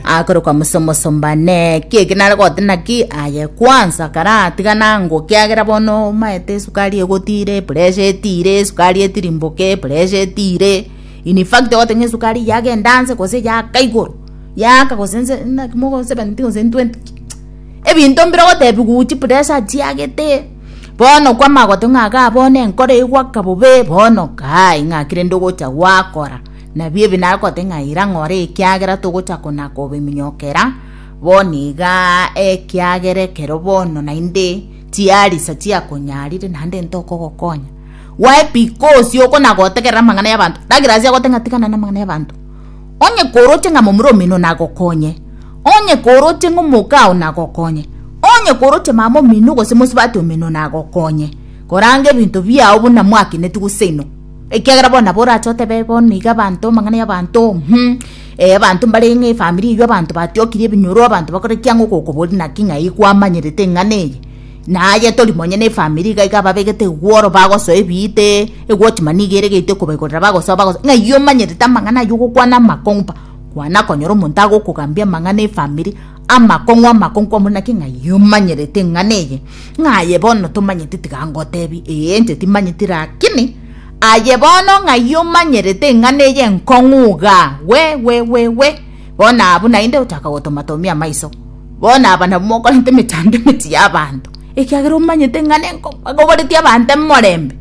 Akorokwa musomosombane kieki nare gote naki aye kwanza karatiga nango kiagera bono omaete esukari egotire epressure etire esukari etirimboke epressure etire in fact ogote ng'a esukari yagenda anse gose yaka igoro yaka gose nse naki mogo 70 gose 20 ebinto mbire ogotebiwa chipressure chiagete bono kwamanya goteba ng'a igaa bono enkoro egwaka bobe bono kai ng'aki rende ogocha gwakora. Nabio ebi nagote ng'a ira ng'ore ekiagera togocha kona-kobiminyokera bono iga, ekiagera ekero bono naende chiarisa chiakonyarire naende ntokogokonya. Why? Because okona-gotegerera amang'ana y'abanto. Douglas agote ng'a tigana namang'ana y'abanto. Onye koroche ng'a momura omino nagokonye, onye koroche ng'a omokao nagokonye, onye koroche mama omino gose mosubati omino nagokonye, koranga ebinto biao buna mwakineti gose inwe. Ekiagera bono nabo orache otebe bono iga abanto amang'ana y'abanto mh, eh, abanto mbare ng'a efamiri eywo abanto batiokirie ebinyoro, abanto bakore ki ang'o ogokoboria naki ng'ai kwamanyerete eng'ana eye? Naye tori monyene efamiri iga iga babegete egworo bagosoa ebiite, ewatchman niga ere gete okobaigorera bagosoa bagosoa, ng'ai omanyerete amang'ana aywo ogokwana amakong'u pa, kwana konyora omonto agokogambia amang'ana efamiri, amakong'u amakong'u kwamboria naki ng'ai omanyerete eng'ana eye? Ng'a aye bono tomanyeti tiga ngotebi, ee inche timanyeti rakini aye bono ng'ai omanyerete eng'ana eye enkong'u igaa, we we we we. Bono abwo naende ochaka gotomatomia amaiso. Bono aba nabwo mokorenta emechando emechie y'abanto, ekiagera omanyete eng'ana enkong'u, bakoboretie abanto emorembe.